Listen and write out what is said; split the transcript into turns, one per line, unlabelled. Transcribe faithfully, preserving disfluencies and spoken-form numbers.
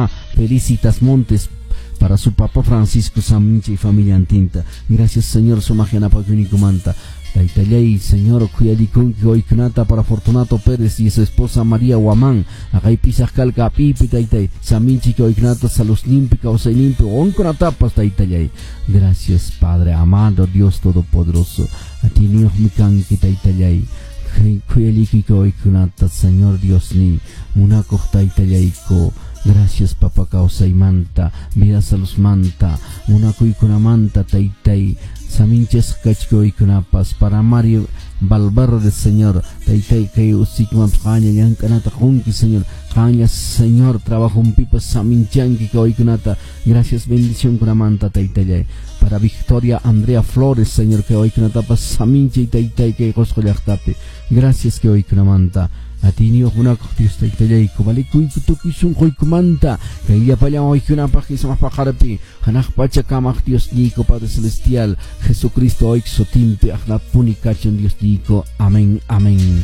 Mamá Felicitas Montes, para su papá Francisco Samincha y familia antinta. Gracias, Señor, sumaq yanapakuyninkumanta. Taytallay, Señor, khuyalikunki waykunata para Fortunato Pérez y su esposa María Guamán. Aqay pisaq kalka pipi, taytay. Saminchi waykunata saludninpi, kawsayninpi, onkunatapas, taytallay. Gracias, Padre amado, Dios Todopoderoso. Atiyniyuqmi kanki, taytallay. Khuyalikuy waykunata, Señor Dios ni. Munakuq taytallayko. Gracias, papa, kawsaymanta, vida saludmanta, munakuykunamanta, taytay. Saminchas kachkuykunapas para Mario Valverde, Señor, taytay, kay usikman qaña llank'anata qunki, Señor, qaña, Señor, trabajunpipas saminchanki kawaykunata. Gracias, bendición kunamanta, taytallay. Para Victoria Andrea Flores, Señor, que waykunatapas saminchay, taytay, kay Qusqu llaqtapi. Gracias que waykunamanta. Atiyniyuq munakuq Dios taytallayku, valikuyku tukuy sunquykumanta kay llapallan waykunapaq sumaq paqarpi hanaq pacha kamaq Diosniyku Padre Celestial Jesucristo oyk sutinpi aqnapuni kachun Diosniyku. Amén, amén.